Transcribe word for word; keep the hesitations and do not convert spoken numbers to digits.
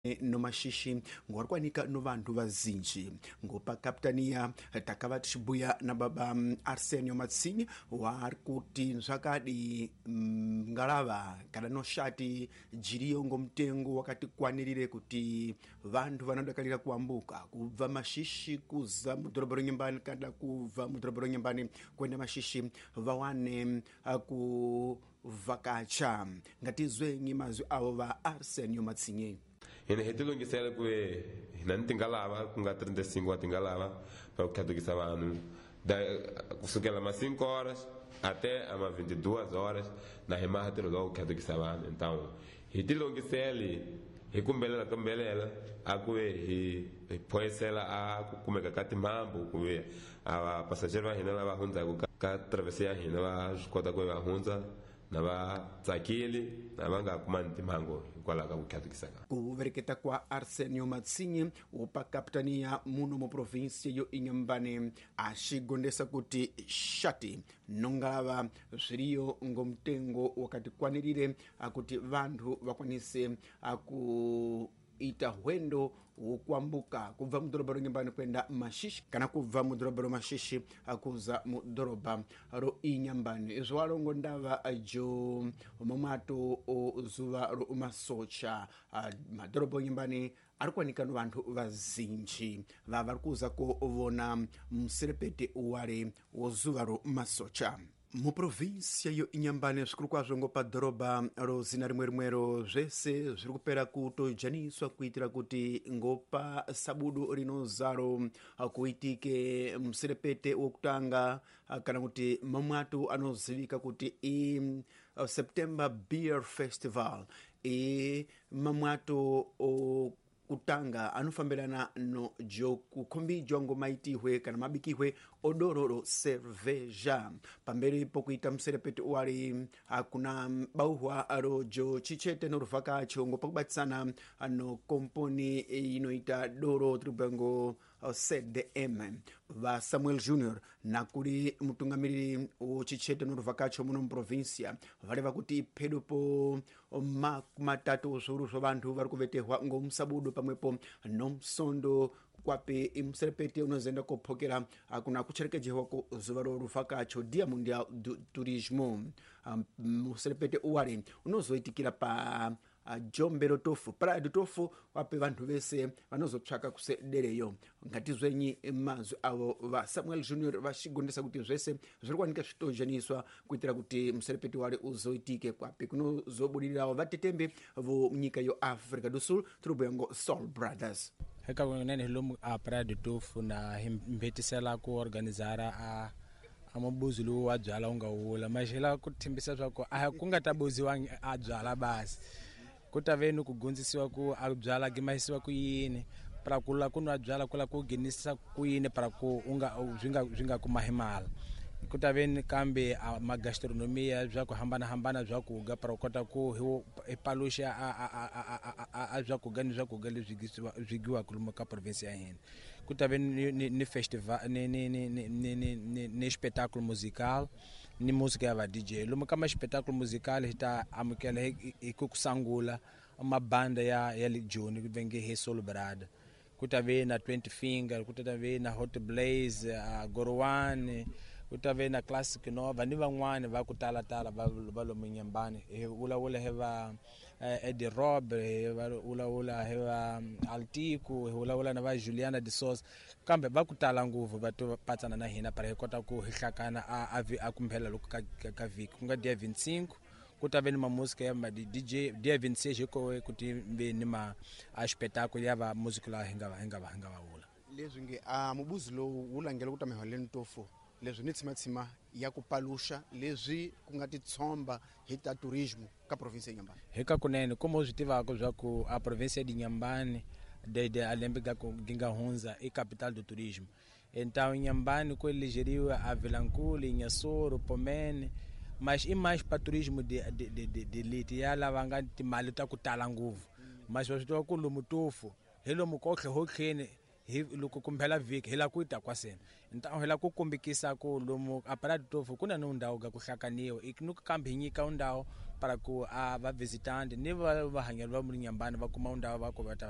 No Mashishi ngo ri kwanika no vanhu vazinji ngo pa kapitania takava tichibuya na baba Arsenio Matsinye wari kuti zvakadi ngalava kana no shati jiriyo ngo mutengo wakati kwanirire kuti vantu vanodakarira kuambuka kubva Mashishi kuza mudhorobha reNyembani kana kubva mudhorobha reNyembani kuenda Mashishi vawane kuvhakacha. Ngatizwenyi mazwi avo va Arsenio Matsinye. Hina hi tilungisela ku hina ni tingalava ku nga trinta e cinco wa tingalava para ku tlhatukisa vanhu kusukela ma cinco horas até ama vinte e duas horas na hi maha ntirho lowu ku tlhatukisa vanhu. Então hi tilungiseli hi kumbelela kumbelela a ku ve hi hi phoyisela a ku kumeka ka timhambu ku ve a vapasajeri va hina lava hundzaka ka travesi ya hina va swi kota ku va hundza na va tsakile na va nga kumani timhangu hikwalaho ka ku tlhatukisa ka. Ku vereketa kwa Arsenio Matsinye wopa kapitania muno mu provinsia yo Inhambane axigondesa kuti shati nongalava zviriyo ngo mutengo wakati kwanirire akuti vantu vakwanise aku ita hwendo wokuambuka kubva mudhorobha reNyembani kuenda Mashishi kana kubva mudhorobha reMashishi kuza mudhorobha roInyambani. Izvo walongo ndava jo mumwato o zuva romasocha madhorobha oNyembani ari kuwanika no vantu vazinji vavari kuza kovona muserepete wale wo zuva romasocha. Muprovinsia yo Inhambane zvikuru kwazvo ngo padhorobha ro zina rimwe rimwero zvese zviri kupera kutojaniswa kuitira kuti ngo pa sabudu rinozaro kuitike muserepete wokutanga kana kuti mamwato anozivika kuti i September Beer Festival i mamwato o kutanga anofambirana no jokukhombijwa ngo maitihwe kana mabikihwe odoro ro cerveja. Pamberi pokuita muserepete wali akuna bauhwa rojo chichete no ruvhakacho ngo pakubatisana no komponi inoita doro tribango C D M va Samuel Junior nakuli mutungamiriri wo chichete no ruvhakacho muno muprovinsia vareva kuti phedo po makumatatu zviuru zvo vantu vari kuvetehwa ngo musabudu pamwepo no musondo kwapi imuserepete unozoenda kophokera akuna kucherekejehwa ko zuva ro ruvhakacho Dia Mundial do Turismo. Um, muserepete uwali unozoitikira pa jombe rotofu Praia do Tofu wape vantu vese vanozotsvaka kusedereyo. Ngatizwenyi mazwi avo va Samuel Junior vachigondesa kuti zvese zviri kuwanika zvitojaniswa kuitira kuti muserepete wale uzoitike kwapi kunozobudirirawo vatetembe vo nyika yo Africa do Sul tiri Soul Brothers. Eka kunene hi lomu a Praia do Tofu na hi mbetisela ku organizara a a mabuzi lowu wa byala wu nga wula maxela ku thembisa swa ku a ku nga ta buziwangi a byala basi ku ta ve ni ku gondzisiwa ku a byala gimahisiwa ku yini para ku la ku nwa byala ku la ku ghenisa ku yini para ku u nga swi nga swi nga kuma hi mali ku ta ve ni kambe a magastronomia bya ku hambanahambana bya ku ga para u kota ku hi paluxa a a a a a bya ku ga ni swa ku ga leswi swi giwaka lomu ka province ya hina. Ku ta ve ni ni festival ni ni ni ni ni ni ni espetáculo musical ni música ya va D J lomu ka ma espetáculo musical hi ta amukela hi ku sangula mabanda ya ya le Joni ku venge hi Soul Brother ku ta ve na twenty Finger ku ta ve na Hot Blaze uh, Gorwane ku ta ve na Classic Nova ni van'wani va ku tala tala va va lomu Inhambane hi vulavula hi va Eddie Rob hi vulavula hi va Altico hi vulavula na va Juliana de Souza kambe va ku tala ngopfu va to patsana na hina para hi kota ku hi hlakana a a kumphela loko ka ka vhiki ku nga dia vinte e cinco ku ta ve ni ma música ya ma D J dia vinte e seis hiko ku ti ve ni ma a espetáculo ya va música la hi nga hi nga hi nga va vula leswi nge a mubuzi lowu wu langela ku ta miholeni tofu leswi ni tshimatsima ya ku paluxa leswi ku nga titshomba hi ta turismo ka province ya Inhambane. Hi ka kunene como swi tivaka swa ku a province ya Inhambane desde a lembe ga ku nga hundza i capital do turismo. Então Inhambane ku elegeriwa a Vilankulu, Inhassoro, Pomene mas i mais pa turismo de de de de, de leti ya lava nga timali ta ku tala ngopfu mas va swi tiva ku lomu tofu hi lomu kohle hotlheni Hi loko kumbela vhiki hi la ku ta kwasena. Então hi la ku kombekisa ku lomu a Praia do Tofo ku na ni ndhawu ga ku hlakaniwa ni kambe hi nyika ndhawu para ku a va visitante ni va vahanyeri va Inhambane va kuma ndhawu va ku va ta